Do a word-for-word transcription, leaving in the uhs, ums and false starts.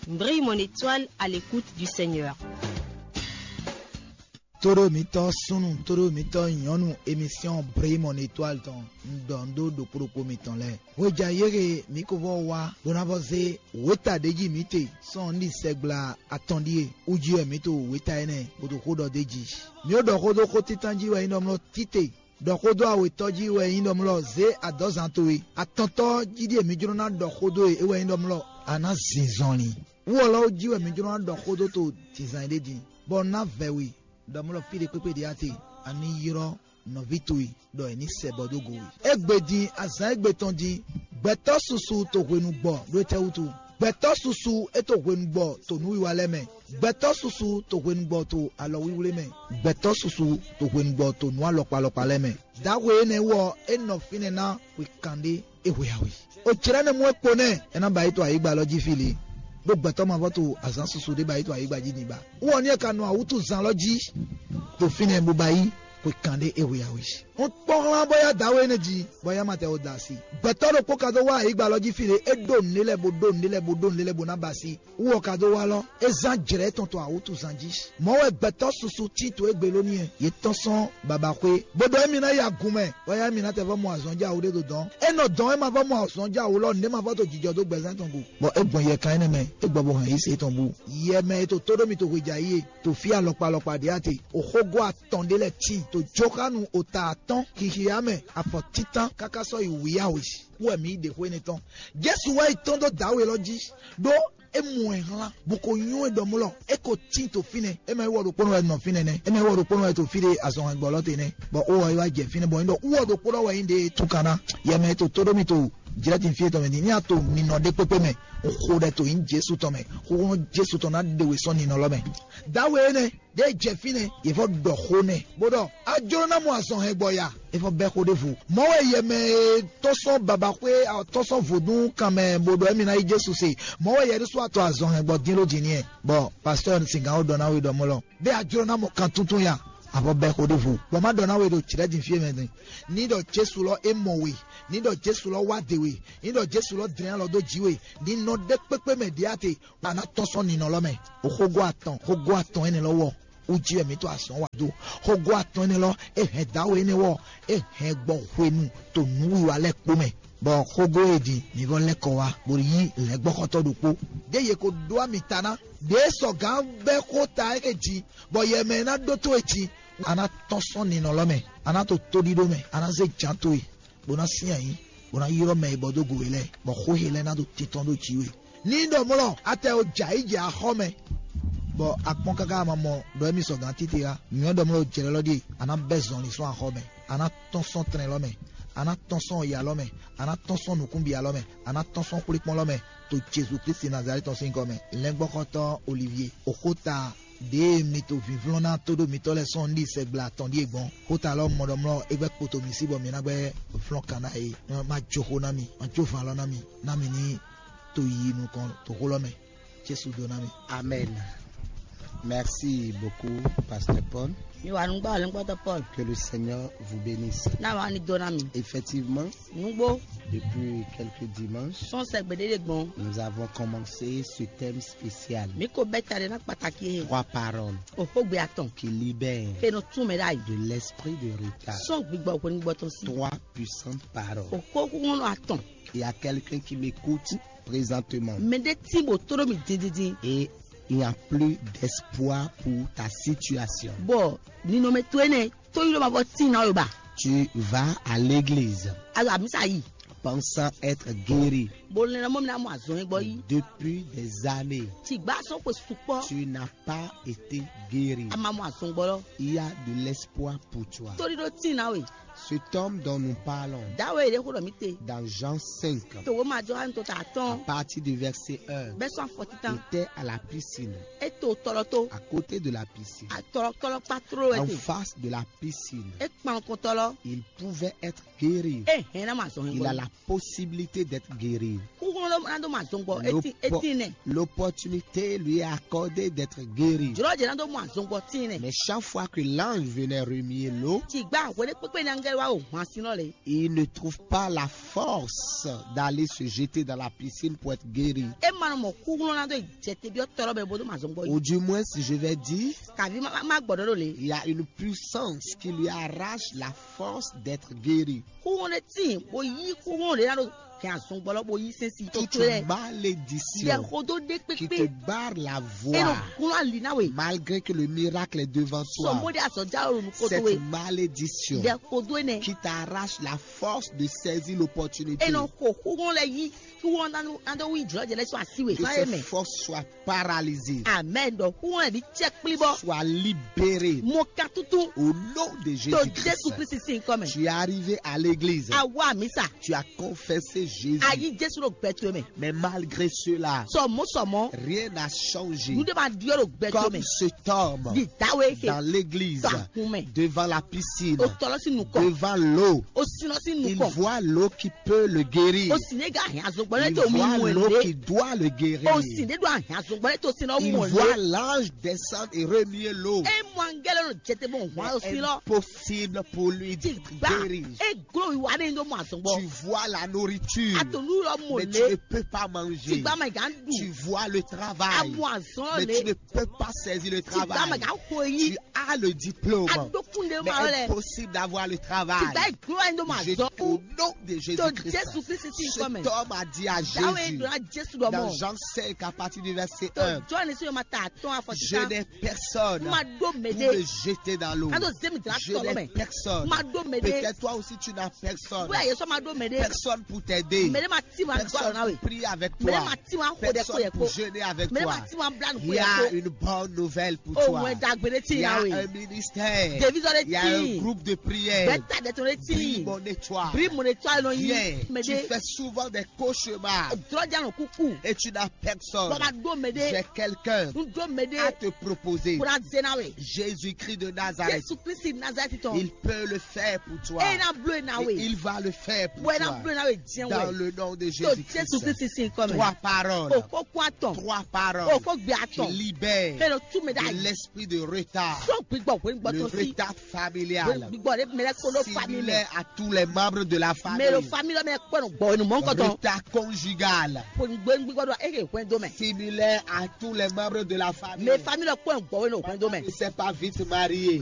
Brille mon étoile à l'écoute du Seigneur. Tóɖó mitɔn súnnu, tóɖó mitɔn nyɔ̌nu, émission Brille mon étoile tɔn, un ɖɔ un ɖó ɖokpó ɖokpó mitɔn lɛ́ɛ. Hweja yéhe mǐ ko vɔ wá bó ná vɔ zé wěta ɖé jí mǐ te sɔ́ un ɖi sɛgbla atɔn ɖíe. Wú jí wɛ mǐ to wěta énɛ́ bó ɖo xó ɖɔ d'é jí. Mǐ ó ɖɔ xó dó xó títán jí wɛ nyí ɖɔ mlɔ tite, ɖɔ xó dó awětɔ́ jí wɛ nyí ɖɔ mlɔ zě adɔ̌zan towe. Atɔntɔ́ jí ɖíe mǐ jló ná ɖɔ xó dó e é wɛ nyí ɖɔ mlɔ a nǎ zin zɔnlin. Wú ɔ́ lɔ jí wɛ mǐ jló ná ɖɔ xó dó to dǐnzan e ɖé din, bɔ un ná vɛ we ɖɔ mlɔ fí ɖé kpékpé ɖě a te, a ní ylɔ́ nɔví towe ɖɔ è ní sɛ bɔ dó go we. Égbé din azǎn égbé tɔn din, gbɛtɔ́ susu to hwenu gbɔ ɖó étɛ́ wútu? Gbɛtɔ́ susu é to hwenu gbɔ to nǔwiwa lɛ́ɛ mɛ. Gbɛtɔ́ susu to hwenu gbɔ to alɔwlíwlí mɛ. Gbɛtɔ́ susu to hwenu gbɔ to nǔ alɔkpa alɔkpa lɛ́ɛ mɛ. Dǎwe énɛ́ wú ɔ́, é nɔ fínɛ́ ná hwe kanɖé é hwe awe. O jlɛ́ nɛ́ mú é kpo nɛ́, é ná ba yi to ayǐgba lɔ jí fí lě. Ɖó gbɛtɔ́ mavɔ to azǎn susu ɖé ba yi to ayǐgba jí din ba. Wú ɔ́ ní é ka nɔ awútuzan lɔ jí to fínɛ́ bó ba yí xwe kanɖé é hwe awe. Un kpɔ́n hlán bó yá dǎwe énɛ́ jí, bɔ é yá ma tɛ o da asi. Gbɛtɔ́ ɖokpó ka dó wá ayǐgba lɔ jí fí lě, é ɖó nǔɖé lɛ́ɛ bó ɖó nǔɖé lɛ́ɛ bó ɖó nǔɖé lɛ́ɛ bó ná ba asi. Wú ɔ́ ka dó wá lɔ, é zán jlɛ̌ tɔn to awútuzan jí. Mɔ̌ wɛ gbɛtɔ́ susu tín to égbé ló n'i wɛ. Yě tɔ́n sɔ́n babaxwé, bó ɖɔ émí ná yi agun mɛ, bɔ émí ná tɛ vɔ́ mɔ azɔn jɛ awu ɖé ɖo dɔn. É nɔ dɔn é ma vɔ́ mɔ azɔn jɛ awu lɔ, nǔɖé ma vɔ́ to jijɔ dó gbɛzán tɔn go. Bɔ é gbɔn yɛkan énɛ́ mɛ, é gbɔ bo hɛn yí se tɔn bú. Yɛ mɛ e to tó ɖó mi to hweja yí e, to fí alɔkpa alɔkpa ɖě a te, oxógó atɔn ɖé lɛ́ɛ tíin, to jóxánu ota atɔ́n, xixia mɛ, afɔ títán, káká sɔ́ yi wǐyáwǐ. Wú wɛ mǐ yi ɖe xó énɛ́ tɔn. Jesu wá yi tɔ́n dó dǎwe lɔ jí, ɖó é mɔ ɛ hlán, bó ko nywɛ́ ɖɔ mlɔ, é ko tín to fínɛ́. É mɛ wɔ ɖokpónɔ wɛ nɔ fínɛ́ nɛ́. É mɛ wɔ ɖokpónɔ wɛ to fí ɖé azɔn hɛngbɔ lɔ te nɛ́. Bɔ ó wɔ é wá jɛ fínɛ́ bɔ é ɖɔ wú wɔ ɖokpónɔ wɛ nyí ɖe tún kan ná. Yɛ mɛ to tó ɖó mi to jlɛ́ din fí tɔn mɛ din. Ní a to ninɔ ɖé kpékpé mɛ, xo ɖɛ to nyí Jesu tɔn mɛ. Xóxó Jesu tɔn ná ɖe we sɔ́ ninɔ lɔ mɛ. Dǎwe énɛ́ ɖě jɛ fínɛ́, yě vɔ ɖɔ xó nɛ́, bó ɖɔ: "A jló ná mɔ azɔn hɛngbɔ ya?" É vɔ bɛ́ xó ɖěvo. Mɔ̌ wɛ yɛ mɛ e tɔ́ sɔ́ babaxwé, tɔ́ sɔ́ vodún kan mɛ bó ɖɔ émí ná yí Jesu se. Mɔ̌ wɛ yɛ ɖésú atɔ azɔn hɛngbɔ dín ló din n'i ɛ. Bɔ pastɔ́ Singán ó ɖɔ ná we ɖɔ mɔ̌ lɔ: "Bɛ́ a jló ná mɔ kan túntún ya?" A vɔ bɛ́ xó ɖěvo. Bɔ má ɖɔ ná we ɖo jlɛ̌ din fí e mɛ din. Ní ɖɔ Jesu lɔ é mɔ we, ní ɖɔ Jesu lɔ wá de we, ní ɖɔ Jesu lɔ dlɛ́n alɔ dó jǐ we, ní nɔ ɖé kpékpé mɛ ɖě a te, a nǎ tɔ́n sɔ́ ninɔ lɔ mɛ. O xógó atɔn, xógó atɔn énɛ́ lɔ wɔ, wú jí wɛ mǐ to azɔ̌ wa dó. Xógó atɔn énɛ́ lɔ, é hɛn dǎwe énɛ́ wɔ, é hɛn gbɔ hwenu to nǔwiwa lɛ́ɛ kpó mɛ. Bɔ xógó e din mǐ vɔ lɛ́ kɔ wá, bó yí lɛ̌ngbɔ́xɔtɔ́ ɖokpó. Ɖěe yě ko ɖó ami ta ná, ɖě sɔgǎn bɛ́ xó ta é jí, bɔ yɛ mɛ e ná ɖótó e jí, a ná tɔ́n sɔ́ ninɔ lɔ mɛ, a ná to tóɖíɖó mɛ, a ná zé jǎn towe, bó ná syɛ́n ayǐ, bó ná ylɔ́ mɛ e bɔ dó go we lɛ́ɛ, bɔ xó he lɛ́ɛ ná ɖo titɔn ɖó jǐ we. Ní ɖɔ mlɔ, a tɛ o jɛ ayǐ jɛ axɔ́ mɛ, bɔ a kpɔ́n káká a ma mɔ ɖɔ émí sɔgǎn títí ǎ. Nyɔ̌ ɖɔ mlɔ jlɛ̌ lɔ ɖíe, a nǎ bɛ́ zɔnlin sɔ́ axɔ́ mɛ, a nǎ tɔ́n sɔ́ tlɛn lɔ mɛ, a nǎ tɔ́n sɔ́ ya lɔ mɛ, a nǎ tɔ́n sɔ́ nǔkúnbia lɔ mɛ, a nǎ tɔ́n sɔ́ xwlékpɔ́n lɔ mɛ, to Jezu Klísu Nazalɛ́ti tɔn sín gɔ́ mɛ. Lɛ́ngbɔ́xɔ́tɔ́ Olivyé, oxóta ɖěe mi to vǐvlɔ́n ná tó ɖó mitɔ́ lɛ́ɛ sɔ́ un ɖi sɛgbla atɔn ɖíe gbɔn. Xóta lɔ mɔ ɖɔ mlɔ é gbɛ́ kpoto mi sí bɔ mi ná gbɛ́ flɔ́n kan ná é. Má jó xó ná mi, má jó van lɔ ná mi, ná mi ní to yi nukɔn to xó lɔ mɛ. Jesu dó ná mi. Amen. Merci beaucoup, Pasteur Paul. Mi wà nùgbà ọ̀lẹ́ngbọ́tọ̀ Paul. Que le Seigneur vous bénisse. Náà wà ní dó ná mi. Effectivement, Nugbo. Depuis quelques dimanches, Sɔn sɛgbɛ ɖe ɖe gbɔn. Nous avons commencé ce thème spécial. Mi ko bɛ ta ɖe na kpataki ye. Trois paroles Oxogbe atɔn. Qui libèrent Ke no tún mɛ ɖe ayi. De l'esprit de retard. Sɔn gbigbɔ hwenu gbɔtɔ si. Trois puissantes paroles. Oxo kúkúnú atɔn. Il y a quelqu'un qui m'écoute présentement. Mɛ ɖe tí bò tó ɖo mi dindindin. Et il n'y a plus d'espoir pour ta situation. Bɔ ninɔmɛ to ene. Tó yi ɖo ma vɔ tín ná we ba. Tu vas à l'église. Ayo amisa yi. Pensant être guéri. Bo lɛn mɔ mi na mɔ azɔn gbɔ yi. Depuis des années. Ti gba sɔn ko sukpɔ. Tu n'as pas été guéri. A ma mɔ azɔn gbɔ lɔ. Il y a de l'espoir pour toi. Torí ɖo tín ná we. Cet homme dont nous parlons. Dawe yɛ de xo ɖɔ mi te. Dans Jean cinq. To wo ma jɔ an to ta À tɔn. Partir du verset un. Bɛ sɔn afɔ titan. Était à la piscine. E to tɔlɔ to. À côté de la piscine. A tɔlɔ tɔlɔ kpa tro wɛ te. En face de la piscine. E kpan kɔntɔlɔ. Il pouvait être guéri. E hɛn na ma zɔn. Il a la possibilité d'être guéri. Kúkúrú ló ná dó ma zɔn gbɔ. Eti eti nɛ. L'opportunité lui est accordée d'être guéri. Jɔlɔ jɛ ná dó ma zɔn gbɔ tin nɛ. Mais chaque fois que l'ange venait remuer l'eau, Ti gba wele kpekpe na Kɛ wá o hwan sin lɔ lé. Il ne trouve pas la force d'aller se jeter dans la piscine pour être guéri. E ma nɔ mɔ kúhlɔ́n ná dó jɛ te byɔ́ tɔ́lɔ bɛ bó dó ma zɔn gbɔ yi. Ou du moins, si je vais dire, Kàví má má gbɔdɔ ɖo lé. Il y a une puissance qui lui arrache la force d'être guéri. Kúhlɔ́n ɖé tín bó yí kúhlɔ́n ɖé ná ɖo kɛ azɔn gbɔ lɔ bó yí sɛn si tó Toute tó lɛ. Malédiction Lɛ xodó ɖé qui te pépé. Barre la E nɔ voie, glɔ́ ali ná we. Malgré que le miracle est devant toi. Sɔmɔdé azɔjá o nukó tó we. Cette malédiction Lɛ xodó enɛ. Qui t'arrache la force de saisir l'opportunité. E nɔ xo xúgbɔn lɛ yí xúgbɔn ná dó wí jlɔ́ jɛ lɛ sɔ́ asi we. Que ces forces soient paralysées. Amɛn. Ɖɔ xúgbɔn lɛ bí cɛ kplí bɔ. Sois libéré. Mo kan tuntun. Au nom de Jésus-Christ. To Jésù Kristi sín kɔ mɛ. Tu es arrivé à l'église. Awa mi sa. Tu as confessé Jésus. A yí Jésù ɖo gbɛ towe mɛ. Mais malgré cela, sɔmɔ sɔmɔ rien n'a changé. Nuɖe ma ɖiɔ ɖo gbɛ towe mɛ. Comme cet homme Di dawe ke dans l'église, tɔ akun mɛ. Devant la piscine, O tɔlɔ si nukɔ. Devant l'eau, O sinɔ si il nukɔ. Voit l'eau qui peut le guérir. O sin ne ga hɛn azogbɔ ne Il to mu voit mɔ l'eau le. Qui doit le guérir. O sin ne do ahɛn azogbɔ ne to sin na Il mɔ voit le. L'ange descendre et remuer l'eau. E mɔ angɛlɛ nɔ jɛte bɔ hɔn o sin lɔ. Impossible pour lui de guérir. E glo wa ne do mɔ azɔgbɔ. Tu vois la nourriture, Atonu lɔ mɔ mais tu ne peux pas manger. Tigba ma gan du. Tu vois le travail, Amɔ azɔn mais tu ne peux pas saisir le travail. Tigba ma gan ko yi. Tu as le diplôme, Adokun de mais ma lɛ. Impossible d'avoir le travail. Tigba e glo wa ne do mɔ azɔn. Au nom de Jésus-Christ, Jésù Kristi sín ikɔ mɛ. Cet homme a dit à Jésus, Jésus dɔ mɔ. Dans Jean cinq, à partir du verset un, Jɔn ní sọ ma ta atɔn afɔ Je n'ai personne. Ma do mɛ de. Pour me jeter dans l'eau. Ado zemi dra tɔ mɛ. Je n'ai personne. Ma do mɛ de. Peut-être toi aussi tu n'as personne. Wɛ yesɔ ma do mɛ de. Personne pour t'aider. Mɛ de ma ti ma gbɔ na we. Personne pour prier avec toi. Mɛ de ma ti ma xo de ko yɛ ko. Personne pour jeûner avec toi. Mɛ de ma ti ma bla nu ko yɛ ko. Il y a une bonne nouvelle pour toi. O wɛ dagbe de ti na we. Il y a un ministère. Devi zɔ de ti. Il y a un groupe de prière. Bɛta de to de ti. Bri mon étoile. Bri mon étoile no yi. Viens. Mɛ de. Tu fais souvent des cauchemars. Drɔja no kuku. Et tu n'as personne. Baba do mɛ de. J'ai quelqu'un. N do mɛ de. À te proposer. Kura zena we. Jésus-Christ de Nazareth. Jésù Kristi Nazareth tɔn. Il peut le faire pour toi. E na blo e na we. Et il va le faire pour toi. Wɛ na blo e na we diɲɛ we. Dans le nom de Jésus-Christ. Jésù Kristi sín kɔ mɛ. Trois paroles. O ko kó atɔn. Trois paroles. O ko gbé atɔn. Qui libèrent. Ke lo tú mɛ de ayi. L'esprit de retard. Sɔ gbigbɔ wɛ gbigbɔ tɔn si. Le retard familial. Gbigbɔ de mɛ lɛ ko lo famille. Similaire à tous les membres de la famille. Mɛ lo famille mɛ kpɔnɔ gbɔ enu mɔ nkɔtɔ. Retard conjugal. Ko gbɛ gbigbɔ do eke hwɛn do mɛ. Similaire à tous les membres de la famille. Mɛ famille kpɔnɔ gbɔ enu hwɛn do mɛ. Ne s'est pas vite marié.